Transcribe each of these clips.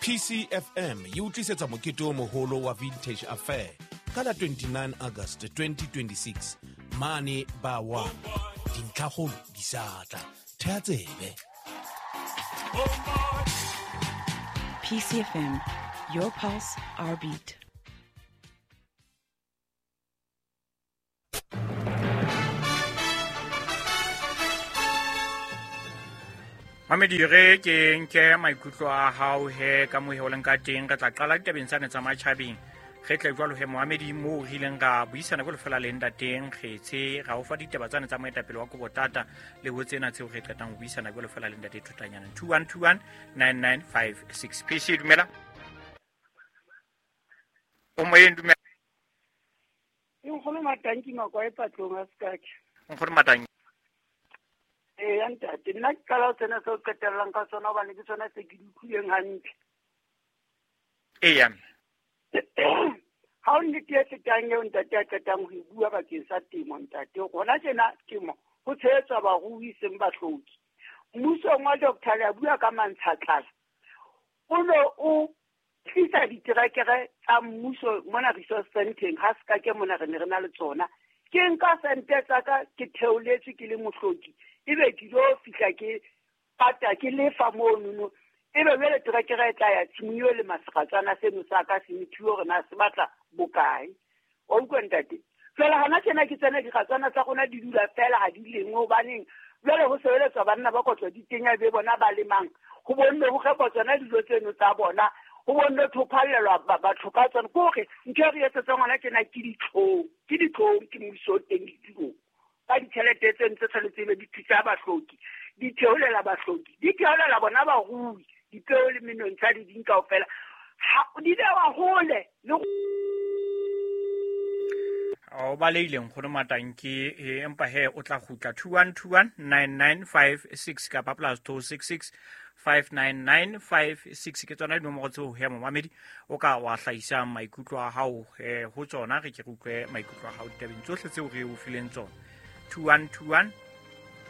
PCFM e o tlisetsa mokete o moholo wa Vintage Affair ka la 29 August 2026 mane ba wa dintlhakgolo di sa tla. Thea tsebe. PCFM, your pulse, our beat. Mamedi re ke nke maikutlo a hao he ka mo heoleng ka teng. Re tla qala ditabeng tsane tsa matjhabeng, re tle jwalo he moamedi moo re ileng ra buisana jwalo fela le ntateng Kgetse, ra o fa ditaba tsane tsa moetapele wa Kobotata le ho tsena tseo re qetang ho buisana jwalo fela le ntate Thotanyana. 2121 9956. PC, dumela. O moyeng, dumela. Nkgono Matanki Makwae patlong a Sekake. Nkgono Matanki. Ee, ya ntate, nna ke qala ho tsena seo qetellang ka sona hobane ke sona se ke di utlwileng hantle. Eya. Ha o nnete e fetang eo ntate a qetang ho e bua bakeng sa temo, ntate. Hona tjena temo ho tshehetswa barui seng bahloki. Mmusong wa Doctor le a bua ka mantshatlala. O no o tlisa diterekere tsa mmuso mona resource centeng, ha Sekake mona re ne re na le tsona. Ke nka sente tsa ka ke theoletswe ke le mohloki, ebe ke lo fihla ke pata ke lefa monono, ebe jwale terekere e tla ya tshimong eo le maseratswana seno sa ka se methuwe hore na se batla bokae. Wa utlwa ntate? Jwale hana tjena ke tsena diratswana tsa rona di dula fela ha di lengwe, hobaneng jwale ho sebeletswa banna ba kotlo di tenya be bona ba lemang, ho bonne ho rekwa tsona dijo tseno tsa bona, ho bonne thophallelwa batho ka tsona. Ke hore ntho e re etsetsang hona tjena ke ditlhong, ke ditlhong, ke mmuso o teng ditulong ka ditjhelete tseno tse tshwanetse ebe di thusa bahloki, di theolela bahloki, di theolela bona barui, dipeo le menontsha le ding kaofela di bewa hole le o balehile nkgono Matanki, empa he o tla kgutla. 2121 9956 kapa plus 266 59956 ke tsona dinomoro tseo he momamedi o ka wa hlahisang maikutlo a hao ho tsona. Re ke re utlwe maikutlo a hao ditabeng tsohle tseo re o fileng tsona. 2121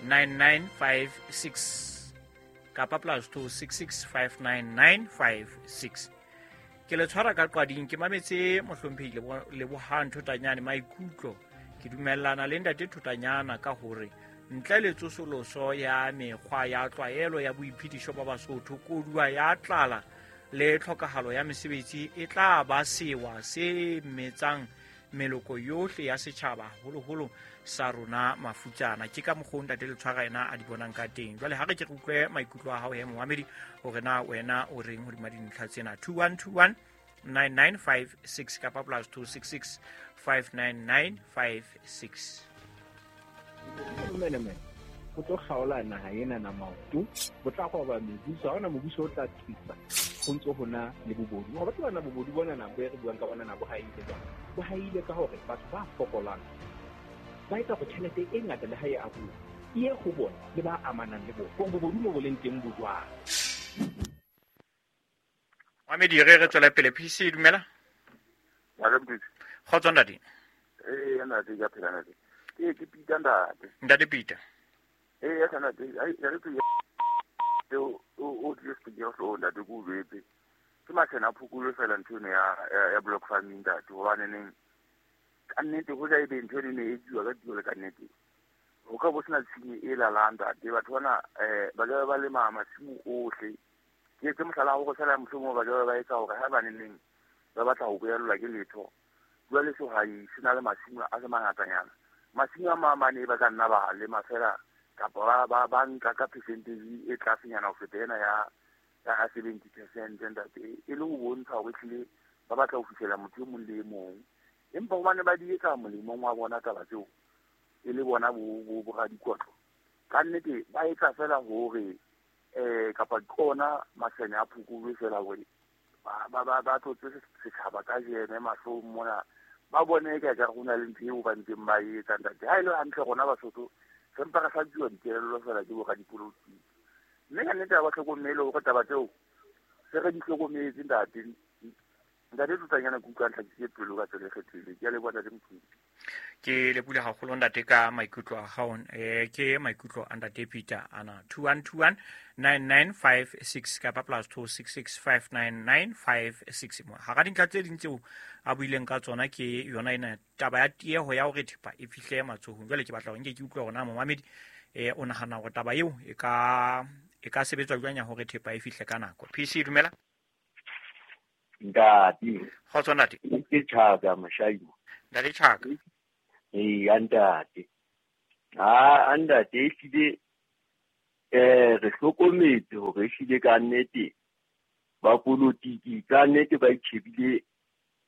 9956 kapa plus 266 59956. Ke le tshwara ka qwading, ke mametse mohlomphehi Lebohang Thotanyane maikutlo. Ke dumellana le ntate Thotanyana ka hore ntle le tsosoloso ya mekgwa ya tlwaelo ya boiphedišo ba Basotho, koduwa ya tlala le tlhokahalo ya mesebetsi e tla ba sewa se metsang meloko yohle ya setjhaba, haholoholo sa rona mafutsana. Ke ka mokgwa o ntate Letshwara ena a di bonang ka teng. Jwale ha re ke re utlwe maikutlo a hao he momamedi, hore na wena o reng hodima dintlha tsena. 2121 9956 kapa plus 266 59956. Menemene go tlo kgaola naha ena na maoto, bo tla roba mebuso, ha hona mobuso o tla thusa go ntse ho na le bobodu. Ga batho bana bobodu bona na bo e re buang ka bona na bo haile jwang? Bo haile ka hore batho ba fokolang ba etsa go tjhelete e ngata le ha e abuwa e ye go bona le ba amanang le bona, gore bobodu mo bo leng teng bo jwang. Mamedi, re tswela pele. PC, dumela. Kgotso ntate. Ee, ntate, ke a phela ntate. Ke Peter ntate. Ntate Peter. Ee, ya ntate, ya re tse o tlile sepikere hloohong ntate, ke o jwetse. Ke mashene a phokolo fela ntho eno ya block farming ntate, hobane neng ka nnete ho ja ebe ntho eno e ne e etsuwa ka tio le ka nnete. Ho ka bo sena tshenyo e lalang ntate, batho bana ba ka ba lema masimo ohle. Ke etse mohlala wa hore fela mohlomong ba ka ba etsa hore ha ba neng ba batla ho boellwa ke letho, jwale sehwai se na le masimo a se mangatanyana. Masimo a mamane ba ka nna ba lema fela kapa ba nka ka percentage e tlasenyana ho feta ena ya 70% ntate, e le ho bontsha hore ehlile ba batla ho fihlela motho e mong le e mong. Empa hobane ba di etsa molemong wa bona taba tseo, e le bona bo radikotlo, ka nnete ba etsa fela hore kapa ke ona masene a phokolo fela hore ba tlotse setjhaba ka jeme mahlong mona, ba bone ka ekare ho na le ntho eo ba ntseng ba e etsa ntate. Ha e le hantle rona Basotho re mpa re hlatsuwa dikelello fela ke boradipolotiki, mme ka nnete ha ba hlokomele hore taba tseo se re di hlokometse ntate. Ntate Thotanyana, ke utlwa ntlhakisitse pelo ka tsela e kgethehileng. Ke a leboha ntate Mthunzi. Ke lebohile haholo ntate ka maikutlo a hao. Ke maikutlo a ntate Peter ana. 2121 9956 kapa +266 59956. Hara dintlha tse ding tseo a buileng ka tsona ke yona ena taba ya tieho ya hore thepa e fihle matsohong. Jwale ke batla hore nke ke utlwe hore na momamedi o nahana hore taba eo e ka sebetswa jwang ya hore thepa e fihle ka nako. PC dumela. Ntate. Kgotso ntate. Ke Chaka Mashaimo. Ntate Chaka. Ee, ntate. Ha ntate ehlile re hlokometse hore ehlile ka nnete ba polotiki ka nnete ba itjhebile,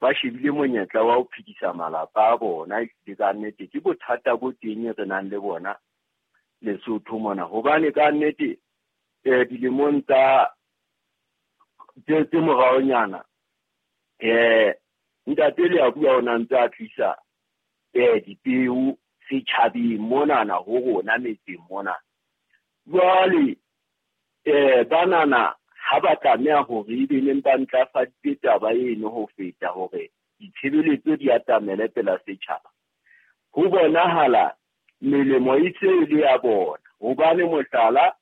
ba shebile monyetla wa ho phedisa malapa a bona. Ehlile ka nnete ke bothata bo teng re nang le bona Lesotho mona, hobane ka nnete dilemong tsa tse moraonyana ntate le a bua o na ntse a tlisa dipeo setjhabeng monana ho rona metseng mona. Jwale banana ha ba tlameha hore ebe neng ba ntlafaditse taba eno ho feta hore ditshebeletso di atamele pela setjhaba, ho bonahala melemo e se le ya bona. Hobane mohlala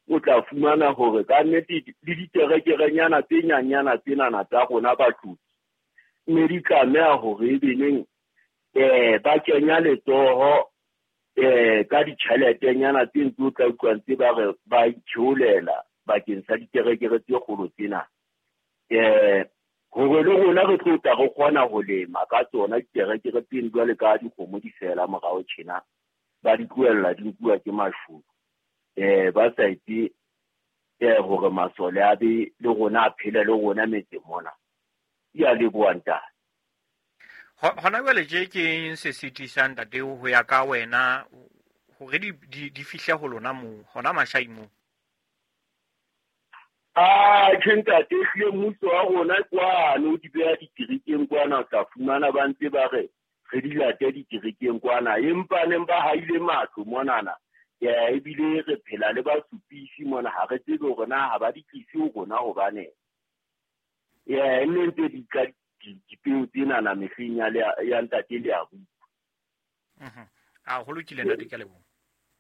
o tla fumana hore ka nnete le diterekerenyana tse nyanyana tsenana tsa rona batlodi mme di tlameha hore ebe neng ba kenya letsoho ka ditjheletenyana tse ntse o tla utlwa ntse ba re ba itheolela bakeng sa diterekere tse kgolo tsena, hore le rona re tlo tla re kgona ho lema ka tsona diterekere tseno. Jwale ka dikgomo di fela morao tjena, ba di tlohella di nkuwa ke mashodu, ba sa etse hore masole a be le rona a phele le rona metseng mona. Ke a leboha ntate. Hona jwale tje ke eng se sitisang ntate ho ya ka wena hore di fihle ho lona moo hona Mashai moo? Tjhe ntate, ehlile mmuso wa rona kwana o di beha diterekeng kwana, o tla fumana ba ntse ba re re di late diterekeng kwana, empa neng ba haile matlo monana. Ebile re phela le basupisi mona, ha re tsebe hore na ha ba di tlise ho rona hobane nne ntse di tla dipeo tsenana mehleng ya ntate le a bua. A ho lokile ntate, ke a leboha.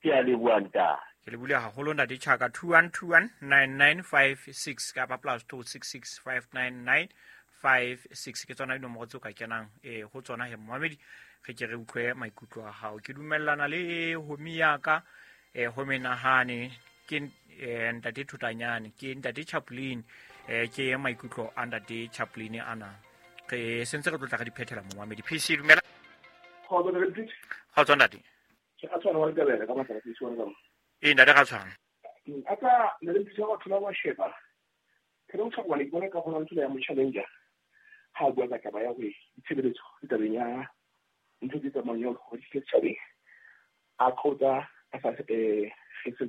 Ke a leboha ntate. Ke lebohile haholo ntate Chaka. 2121 9956 kapa +266 59956 ke tsona dinomoro tseo ka kenang ho tsona he momamedi, re ke re utlwe maikutlo a hao. Ke dumellana le homi ya ka ho menahane ke ntate Thotanyane, ke ntate Chaplin, ke maikutlo a ntate Chaplin ana. Re sentse re tlotla ka diphethela momamedi. PC dumela. Kgotso ntate. Ke a tshwana wa Letebele ka matsatsi a tshwana ka. Ee ntate ga tshwana. Aka ne le thusa batho ba sheba. Ke re tshwana le bona ka gona ntlo ya mo challenger. Ha bua ka taba ya hore ditshebeletso le tabeng ya ntho tse tsamayang ya hore di setjhabeng. A qotsa a sa kgethe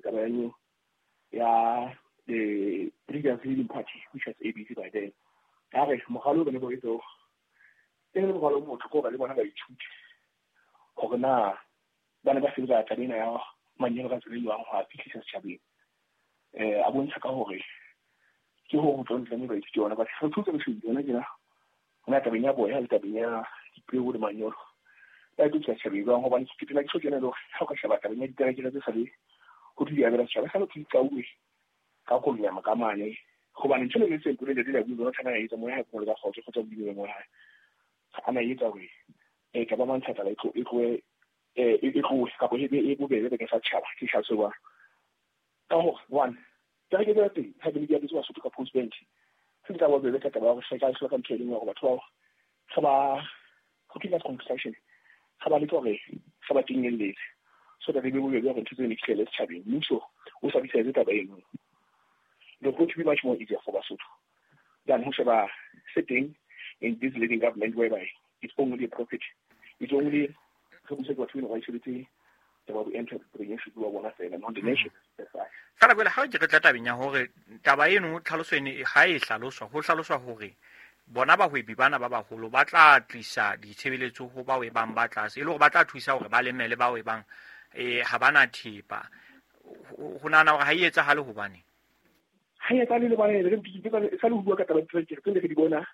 taba ya ya the previous leading party which was ABC by then. Ka re mogalo bone bo etso e le mogalo motho ko ba le bona ba ithuti hore na bana ba sebetsa taba ena ya manyolo ka tsela e jwang ho a fihlisa setjhabeng. A bontsha ka hore ke ho tlo ntle ba ithuti yona ba re thutse re shebile yona tjena hona tabeng ya boya le tabeng ya dipeo le manyolo ba ithuta setjhabeng jwang, hobane ke phela ke so kena le hore ha o ka sheba tabeng ya diterekere tse sa le ho di abela setjhaba sa lo ke ka kolonyama ka mane, hobane ntho le se mpole le dila bua tshwana ya etsa moya ha go le ka kgotso kgotsa bodimo mo hae a na etsa hore ka ba mantsha taba e tlo e tlo ka bo e bobebe bakeng sa tjhaba ke tlhaso ba ka hore one taba ke tsa teng ha ke di abetse Basotho ka post bank se tla ba bobebe ka taba ya go sheka se ka ntho e leng hore batho ba ba go kila construction ga ba le gore ga ba kenyelletse so that e be bobebe hore ntho tse ne fihlele setjhabeng mmuso o sa bitsa taba eno. It's going to be much more easier for Basotho than ho sheba sitting in this leading government whereby it's only a profit. It's only Fela jwale ha ke re tla tabeng ya hore taba eno tlhaloso ene ha e hlaloswa, ho hlaloswa hore bona bahwebi bana ba baholo ba tla tlisa ditshebeletso ho bao e bang ba tlase, e le hore ba tla thusa hore ba lemele bao e bang ha bana thepa. Ho nahana hore ha e etsahale hobane ha e etsahale le bana re sa le ho bua ka taba tse re di bona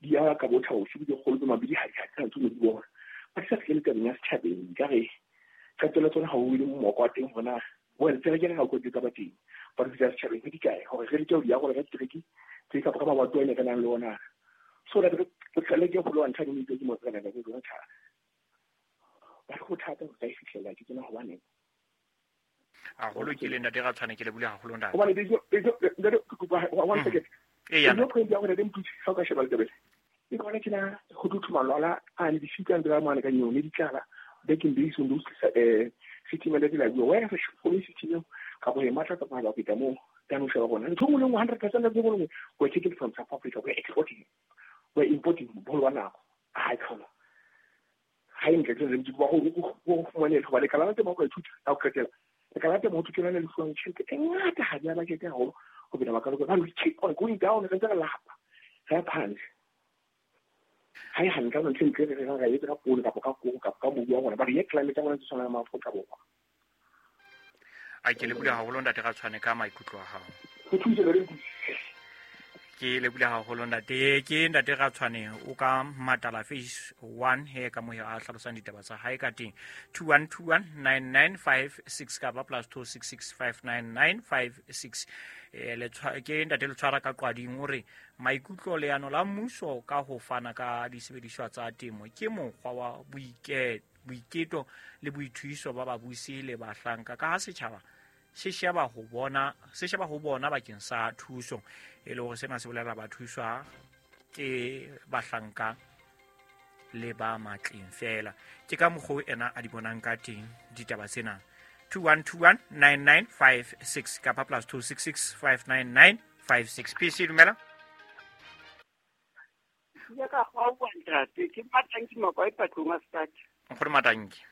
di ya ka botha o se di kgolo tse mabedi ha di ha tse di bona. Ba sa fihlele tabeng ya setjhabeng ka re qetelo tsona ha o ile moko wa teng hona well tsela ke ha o kotsi ka ba teng ba re fihla setjhabeng ke dikae hore re leke ho di arola ka ditereki tse kapa ka mabato a ne re nang le ona so that re leke ho lwantsha di ke mo tsena ka tsona thata ba re ho thata ho ka e fihlela ke tsena hobaneng haholo ke le ntate Ratshwane ke le bule haholo ntate hobane ntate ke kopa one second e yana no point ya hore re mputse ha o ka sheba letebele ke bona ke na go dutse malwala a ne difika ntse ba mane ka nyone ditlala back in days when those setimela di la bua wena re shofole setimela ka bo e matla ka ba feta mo tano sheba bona ntho nngwe le nngwe 100% ya bone we taking from South Africa, we exporting, we importing bolo wa nako ha e khona ha e ntle ke re ba go fumane go ba le kala temo go ithuta ha o qetela le kala temo ho thutela le fuwang tjhelete e ngata ha di a budget haholo ho bina ba ka ba we keep on going down re ntse re lapa re phanse ha e hantle ntho e re re ra etsa ka poone kapa ka koro kapa ka mobu wa rona ba re ye climate ya rona tse tshwanang le Maafrika Borwa. A ke le bule haholo ntate Ratshwane ka maikutlo a hao. Ke le bule haholo ntate ke ntate Ratshwane o ka Matala phase 1 he ka mohe a hlalosang ditaba tsa hae ka teng 21219956 kapa +26659956. Ke ntate le tshwara ka qwading o re maikutlo leano la mmuso ka ho fana ka disebediswa tsa temo ke mokgwa wa boiketo le boithuiso ba babusi le bahlanka ka ha setjhaba se sheba ho bona bakeng sa thuso e le hore sena se bolela ba thuswa ke bahlanka le ba matleng fela. Ke ka mokgwa ena a di bonang ka teng ditaba tsena 21219956 kapa +26659956. PC dumela. Ke ka gwa ntate ke Matanki Makwa e patlong a start. Nkgore Matanki.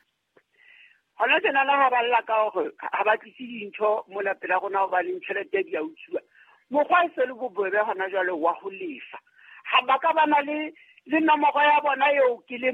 Hona tjena la ha ba lla ka hore ha ba tlise dintho mola pela rona ho ba le tjhelete di a utswa. Mokgwa e se le bobebe hona jwale wa ho lefa. Ha ba ka ba na le nomoro ya bona eo ke le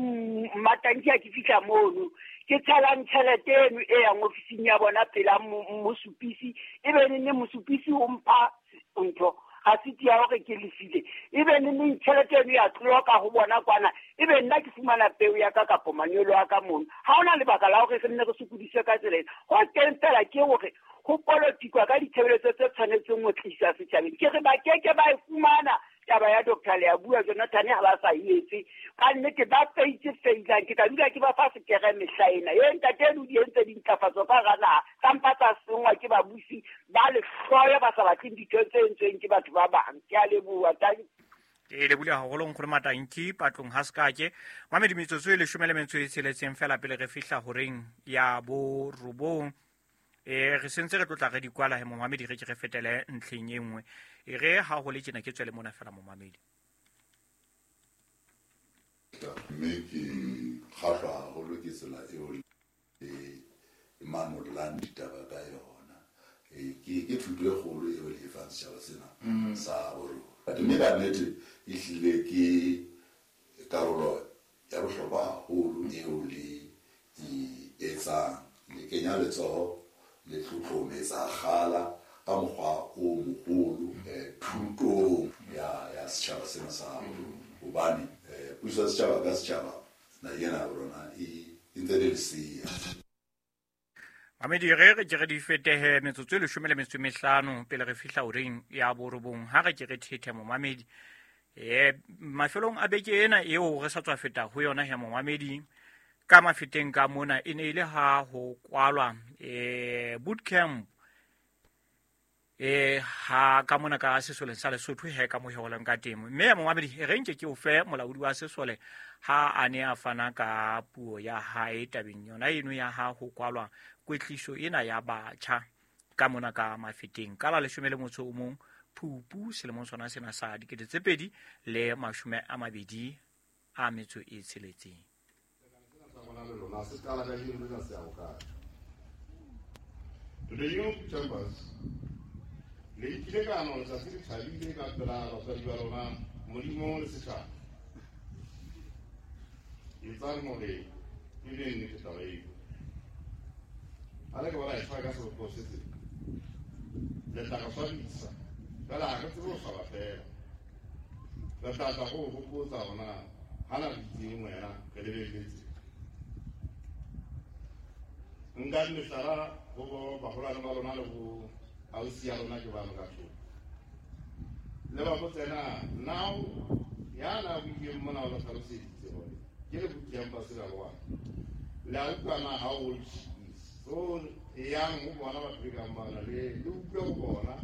Matanki ha ke fihla mono ke tshelang tjhelete eno e yang ofising ya bona pela mosupisi e be nne mosupisi o mpha ntho ga se tia hore ke lefile e be nne tjhelete eno ya tloka ho bona kwana e be nna ke fumana peo ya ka kapo manyolo a ka mono. Ha hona lebaka la hore re nne re sokodiswe ka tsela ena. Ho teng fela ke hore ho polotikwa ka ditshebeletso tse tshwanetseng ho tlisa setjhabeng. Ke re ba keke ba e fumana taba ya Dr. Leabua Jonathan ha ba sa etse ka nnete ba feitse feilang ke tla dula ke ba fa sekere mehla ena e ntate eno di entse dintlafatso ka hara naha ka mpa tsa sengwa ke babusi ba lehloyo ba sa batleng ditho tse entsweng ke batho ba bang. Ke a leboha. Ke lebule haholo nkgore Matanki patlong ha sekake mamedi metsotso e 16 fela pele re fihla horeng ya borobong. Re sentse re tlotla re di kwala he momamedi re ke re fetele ntlheng e nngwe e re ha ho le tjena ke tswele mona fela momamedi. Mme ke kgahlwa haholo ke tsela eo e manollang ditaba ka yona. Ke thuto e kgolo eo le e fang setjhaba sena sa borona. Mme ka nnete e hlile ke karolo ya bohlokwa haholo eo le e etsang. Le kenya letsoho le tlotlometsa kgala ka mokgwa o moholo thutong ya setjhaba sena sa rona. Hobane puso ya setjhaba ka setjhaba naheng ena ya rona e ntse le lesea. Mamedi re ke re di fetehe metsotso e 15 pele re fihla horeng ya borobong. Ha re ke re thethe momamedi mafelong a beke ena eo re sa tswa feta ho yona he momamedi ka mafeteng ka mona e ne ile ha ho kwalwa bootcamp ha ka mona ka sesoleng sa Lesotho he ka moheoleng ka temo mme momamedi re nke ke o fe molaodi wa sesole ha a ne a fana ka puo ya hae tabeng yona eno ya ha ho kwalwa kwetliso ena ya batjha ka mona ka mafeteng ka la 11 Phupu selemong sona sena sa 2026. To the youth chambers, le ikile ka no letsatsi le thabile ka pela batswadi ba lona Modimo le setjhaba. Etsang hore e be nnete taba eo. Ha le ka ba la e tshwara ka sebopeho se seng, le tla re swabisa. Fela ha re tsebe ho swaba fela. Re tla tla go o hopotsa hore na ha na re itseng wena re lebelletse. Nka mehlala ho baholwane ba lona le bo ausi ya lona ke ba ka thoko. Le ba botse na now ya na buileng mona o le tlhaloseditse hore ke le buti ya mpasela wa. Le a utlwa na how old she is. So yang ho bona batho be kang bana le utlwe ho bona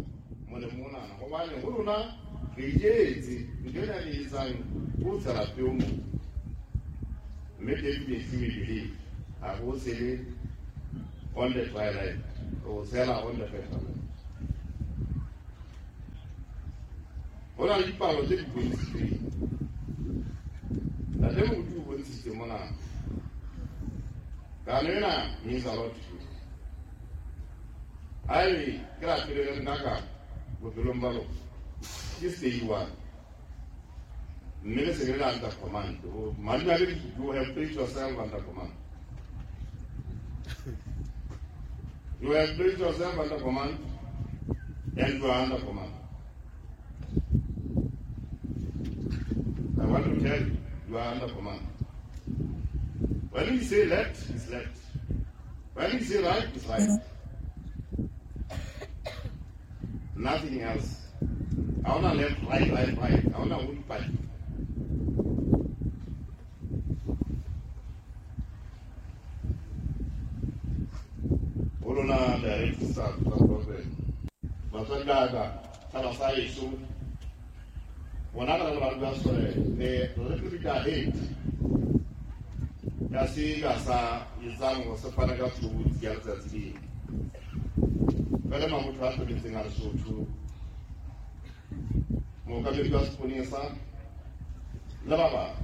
molemo onana hobane ho lona re iketse ntho ena re etsang ho tshela peo mo. Mme definitely we believe ha ho sele on the twilight o tshela on the fertile. Ho na le dipalo tse di bontshitsweng. Ntate Moruti o bontshitse mona. Kano ena means a lot to you. Haebe ke la pele le nna ka bophelong ba lona, ke stay one. Mme le se ke le under command. Madimabe you have placed yourself under command. You have placed yourself under command and you are under command. I want to tell you, you are under command. When we say left, it's left. When we say right, it's right. Nothing else. I want to left, right, right, right. I want to wood pipe. Olona direct start problem. Batswadi ba ka, tshaba sa heso. Bona ka le ba sore le replica hate. Ya se ka sa etsang ho se fana ka tshobotsi ya letsatsi lena. Fela mabotho a hlometseng a Lesotho, mookamedi wa seponesa le ba bang.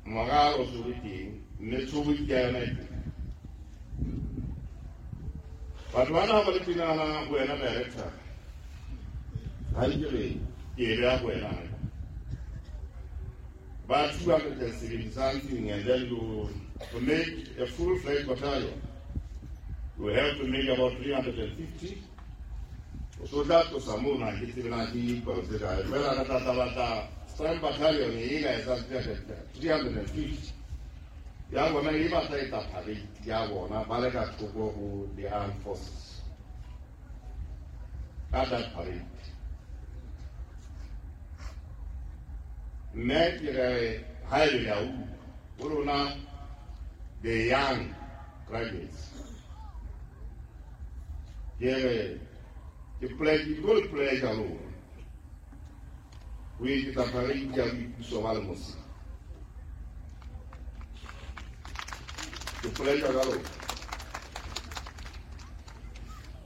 Moralo o se o le teng, mme tshobotsi ya yona e teng. Batho bana ha ba le tenana wena director, ha ke re ke e beha ho wena. Ba 270 something, and then you to make a full-fledged battalion, you have to make about 350. So that to Samuna, ke tsebe na ke dipalo tse kae. Fela re tla batla strength battalion e ka etsang 350. Ya bona e batla e tla parade ya bona ba le ka thoko ho the armed forces. Ka that parade. Mme ke re haebe le a utlwa ho lona the young graduates. Ke re ke pledge ke le pledge a lona. Ho eketsa parade ya boipuso ba Lemosi. Ke pledge ka lona.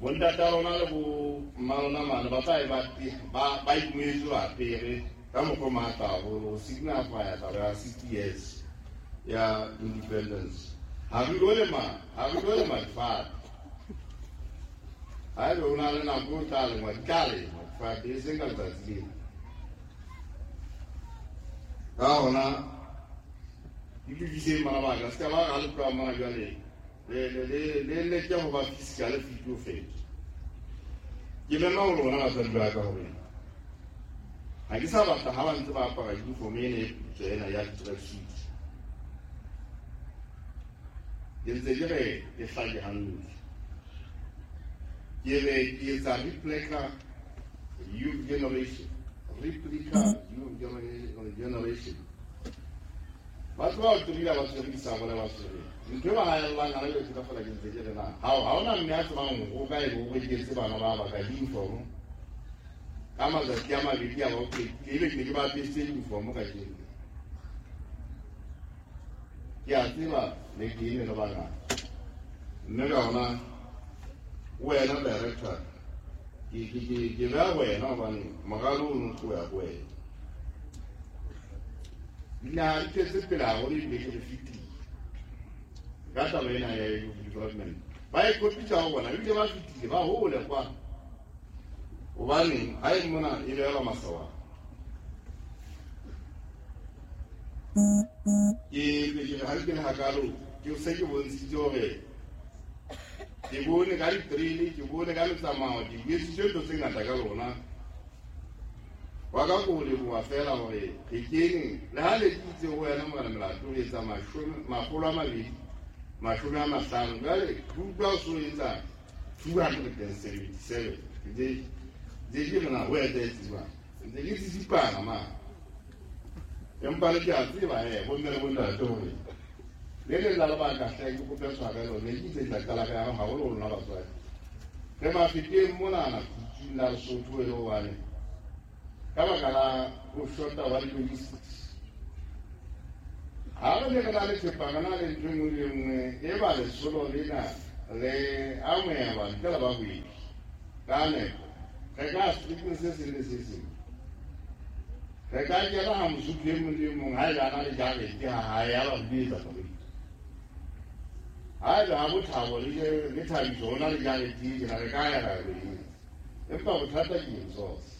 Bontata lona le bo mma lona mane ba tla e ba itumetse ba apere ka mokgwa o matla haholo ho signify taba ya 60 years ya independence. Ha re lo lema, ha re lo lema difate. Haebe o na le nako o tla lengwa, di tla lengwa difate, e seng ka letsatsi lena. Ka hona itokiseng bana ba ka, se ka ba ha le tloha mona jwale le leke ho ba physical fit ho feta. Ke mema ho lona batswadi ba ka hore ha ke sa batla ha ba ntse ba apara uniform ena e putswa ena ya tracksuit. Ke ntse ke re e hlake hantle. Ke re ke etsa replica youth generation. Replica youth generation. Batho ba o tobile ba tshwere disabole ba tshwere. Ntho e ba haellang hana jwale ka feela ke ntse ke re na. Ha hona mme a tsebang hore o kae bo reketse bana ba ba ka uniform. Ka matsatsi a mabedi a ba o qetile, ebe ke ne ke ba apesitse uniform kajeno. Ke a tseba le ke ene le bangata. Mme ka hona wena director ke beha wena hobane moralo ono o ya ho wena. Dinaha di tletse pele haholo ebile ke re fetile ka taba ena ya development. Ba e kopitsa ho bona ebile ba fetile ba hole kwa. Hobane ha e mona e behelwa masawana. Ke ke ha ke le hakalo ke se ke bontshitse hore ke bone ka di-drill, ke bone ka metsamao, ke buetsitse ntho tse ngata ka lona. Wa ka ko leboha fela hore re kene le ha le ditse ho wena morena Melato o etsa 250 jwale ke utlwa o so etsa 277 ke ke rena ho etsa etswa ntse ke tsitsipana ma empa le ke a tseba bomme le bontate hore le leng la lebaka hle ke kope tshwarelo ne ke itse tla qala ka ya haholo ho lona batswadi re mafeteng monana kutsung la Lesotho e le hobane ka baka la ho shota wa di-logistics ha re ne re na le thepa re na le ntho e nngwe le nngwe e ba lesolo lena le amohelwa ntle le bahwebi ka nepo re ka setlekeng se seng le se seng re ka kena ha mosotho e mong le e mong ha ebe a na le jarete ha hae ya ba ho etsa fariki ha ebe ha bothabo le thabiso ho na le jarete e tjena re ka ya ra lo etsa empa bothata ke resource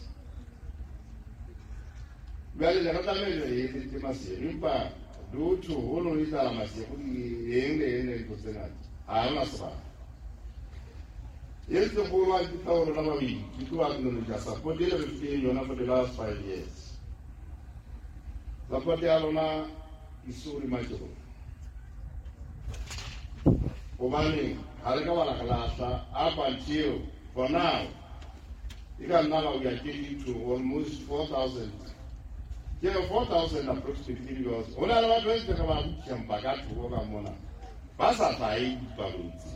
jwale le re tlamehile re etsetse Maseru empa due to ho no etsahala Maseru eng le eng le ntho tse ngata ha hona sebaka e ntse go ba ke tla ho rona babedi ke tlo acknowledge support e le re fileng yona for the last 5 years. Support ya lona e so remarkable hobane ha re ka ba la re lahla up until for now e ka nna ba we are getting to almost 4,000. Yeah, 4,000 approximately because ho na le batho ba ntse re ba campa ka thoko ka mona ba sa hlahe dipalong tse.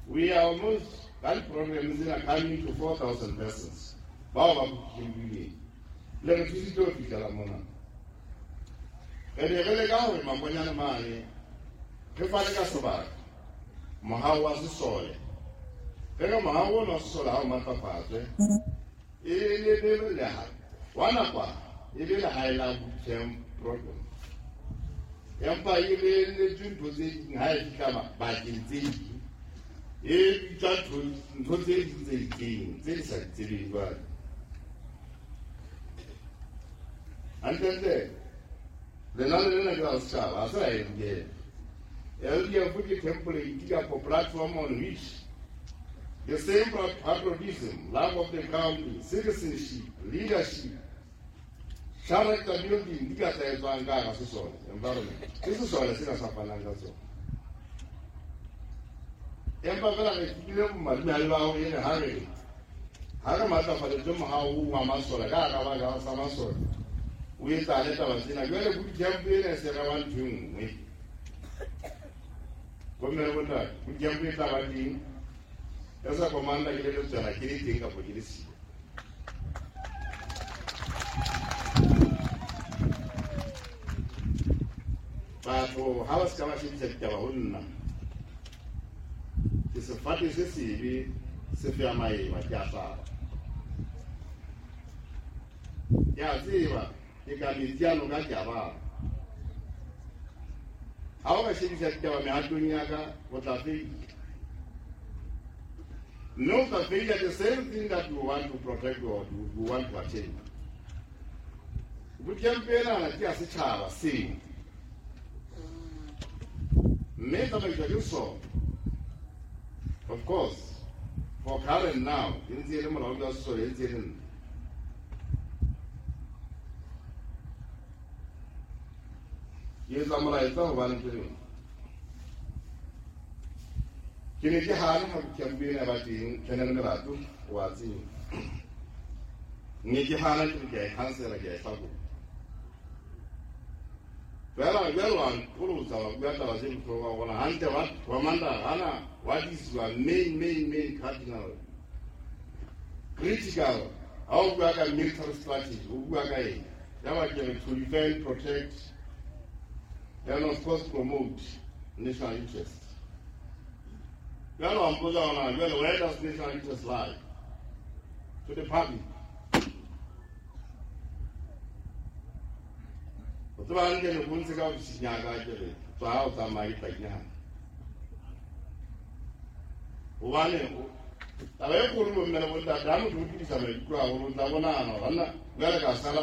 We are almost that program is coming to 4,000 persons. Bao ba bukileng le re thusitse ho fihlela mona. Re ne re leka hore Mangonyane mane re fane ka sebaka mohao wa sesole re re mohao ona wa sesole ha o matlafatswe e le leha wa nakwana e le lehae la bootcamp program empa e lebeletswe ntho tse ding ha e fihla bakeng tse ding e bitswa ntho tse ding tse itseng tse di sa di tsebeng jwale. Hantlentle lenane lena ke la setjhaba ha se la LDF. LDF ke template kapa platform on which the same patriotism, love of the country, citizenship, leadership, character building di ka tla etswang ka hara sesole environment. Ke sesole sena sa fanang ka tsona. Empa fela re fihlile bomadimabe ba hore ene ha re matlafaditswe mohao wa masole ka hara baka sa masole o etsahale taba tsena jwale bootcamp ena e se re ba ntho e nngwe. Bomme le bontate, bootcamp e tla ba teng ya sa commander ke le letswela ke le teng kapo ke le siyo. Batho ha ba se ka ba shebisa ditaba ho nna ke sefate se sebe se fea maeba ke a hlaba. Ke a tseba ke ka metsi a noka ke a bala. Ha o ka shebisa ditaba mehatong ya ka o tla feila. Mme o tla feila the same thing that you want to protect or you want to attain. Bootcamp enana ke ya setjhaba seo mme e tsamaiswa ke sona. Of course, for current now, e ntse e le molaodi wa sesole e ntse e le nna. Ke etsa molaetsa hobane ke reng ke ne ke hana ha bootcamp ena ba teng Colonel Melato wa tseba ne ke hana ke re ke a e cancela ke a e hlakola fela jwale wa nqolotsa wa bua taba tse bohlokwa hore hantle wa commander hana what is your main cardinal critical ha o bua ka military strategy o bua ka eng ya ba ke re to defend, protect and of course promote national interest. Jwale wa mpotsa hona jwale where does national interest lie? To the public. O tseba hantle le bontshe ka ofising ya ka ke re tswa ha o tsamaya ke tla ke hobane taba e kgolo bomme le bontate ha motho o phedisa maikutlo haholo o tla bonahana banna jwale ka sala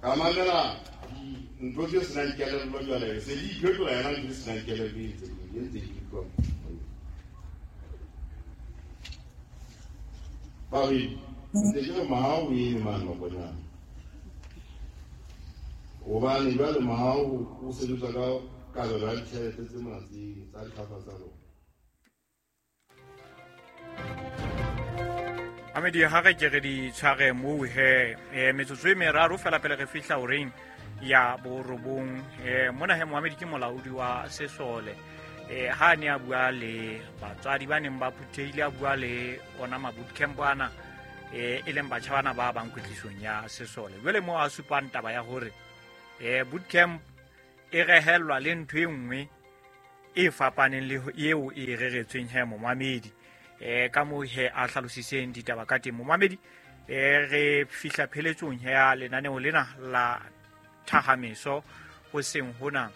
ka mamela ntho tse senang kelello jwale se di iphetola yona ntho tse senang kelello e ntse di utlwa. Babedi, ntse ke re mahao o eme mane Maponyane. Hobane jwale mahao o sebetsa ka kabelo ya ditjhelete tse mona tse tsa dihlopha tsa rona. Amedi ha re ke re di tshware moo he metsotso e meraro fela pele re fihla horeng ya borobong. Mona he Mohamedi ke molaodi wa sesole, ha ne a bua le batswadi ba neng ba phuthehile, a bua le ona ma-bootcamp ana, e leng batjha bana ba bang kwetlisong ya sesole. Jwale moo a supang taba ya hore bootcamp e rehellwa le ntho e nngwe e fapaneng le eo e reretsweng he momamedi. Ka moo he a hlalositseng ditaba ka teng momamedi. Re fihla pheletsong ya lenaneo lena la thahameso hoseng hona.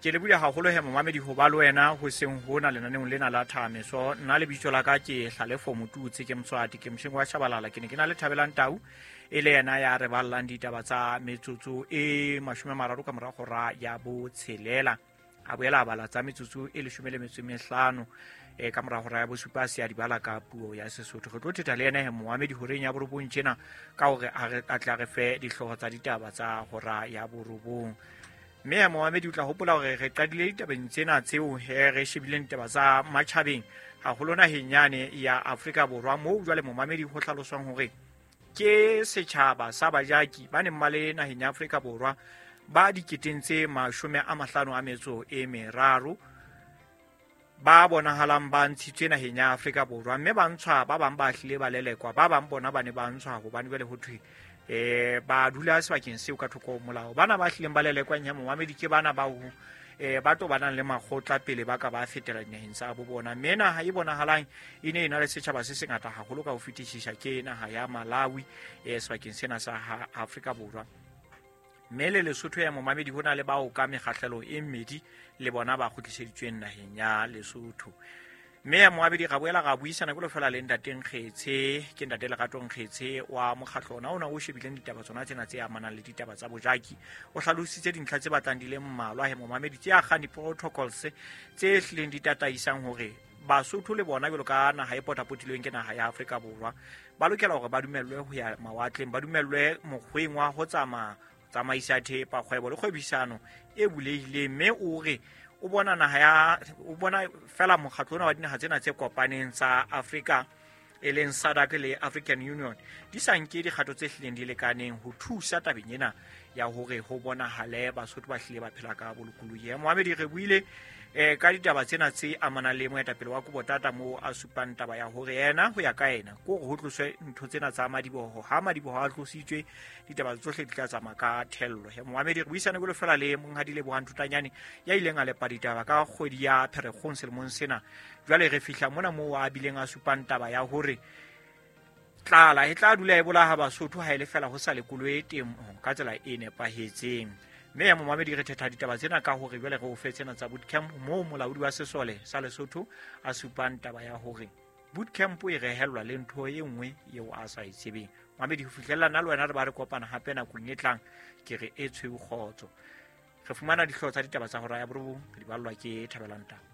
Ke lebohile haholo he momamedi ho ba le wena hoseng hona lenaneong lena la thahameso. Nna lebitso la ka ke Hlalefo Motutse, ke Moswati, ke Moshengo wa Shabalala. Ke ne ke na le Thabelang Tau, e le yena ya re ballang ditaba tsa metsotso e 30 ka mora hora ya 6. A boela a bala tsa metsotso e 15 ka mora hora ya 7 se a di bala ka puo ya Sesotho. Re tlo thetha le yena he Mohamedi horeng ya 9 tjena ka hore a tla re fe dihlooho tsa ditaba tsa hora ya 9. Mme Mohamedi o tla hopola hore re qadile ditabeng tsena tseo he re shebileng ditaba tsa matjhabeng haholo naheng yane ya Afrika Borwa, moo jwale momamedi ho hlaloswang hore ke setjhaba sa bajaki ba neng ba le naheng ya Afrika Borwa ba diketeng tse 53 ba bonahalang ba ntshitswe naheng ya Afrika Borwa, mme ba ntshwa, ba bang ba hlile ba lelekwa, ba bang bona ba ne ba ntshwa hobane jwale ho thwe ba dula sebakeng seo ka thoko ho molao. Bana ba hlileng ba lelekwang ya momamedi ke bana ba ho ba tobanang le makgotla pele ba ka ba fetela dinaheng tsa bo bona. Mme naha e bonahalang e ne e na le setjhaba se sengata haholo ka ho fetisisa ke naha ya Malawi, sebakeng sena sa Afrika Borwa. Mme le Lesotho ya momamedi ho na le bao ka mekgahlelo e mmedi le bona ba kgutliseditsweng naheng ya Lesotho. Mme ya moabedi ga boela ga buisana ke lofela le ntate Nkgetshe, ke ntate Lerato Nkgetshe wa mokgatlo ona ona o shebileng ditaba tsona tsena tse amanang le ditaba tsa bojaki. O hlalositse dintlha tse batlang di le mmalwa he momamedi tse akgang di-protocols tse hlileng di tataisang hore Basotho le bona jwalo ka naha e potapotilweng ke naha ya Afrika Borwa ba lokela hore ba dumellwe ho ya mawatleng, ba dumellwe mokgweng wa ho tsamaya tsamaisa thepa, kgwebo le kgwebisano e bulehileng. Mme o re o bona naha ya o bona fela mokgatlo ona wa dinaha tsena tse kopaneng tsa Afrika e leng SADC le African Union di sa nke dikgato tse hlileng di lekaneng ho thusa tabeng ena ya hore ho bonahale Basotho ba hlile ba phela ka bolokolohi. Mohamedi re buile ka ditaba tsena tse amanang le moetapele wa Kobotata moo a supang taba ya hore yena ho ya ka yena ke hore ho tloswe ntho tsena tsa madiboho. Ha madiboho a tlositswe ditaba tsohle di tla tsamaya ka thello. Mohamedi re buisane jwalo fela le monghadi Lebohang Thutanyane ya ileng a lepa ditaba ka kgwedi ya Pherekgong selemong sena. Jwale re fihla mona moo a bileng a supang taba ya hore tlala e tla dula e bolaha Basotho ha e le fela ho sa lekolwe temo ka tsela e nepahetseng. Mme ya momamedi re thetha ditaba tsena ka hore jwale re o fe tsena tsa bootcamp moo molaodi wa sesole sa Lesotho a supang taba ya hore bootcamp e rehellwa le ntho e nngwe eo a sa e tsebeng. Momamedi ho fihlella nna le wena re ba re kopana hape nakong e tlang, ke re e tshweu kgotso. Re fumana dihlooho tsa ditaba tsa hora ya 9 re di ballwa ke Thabelang Tau.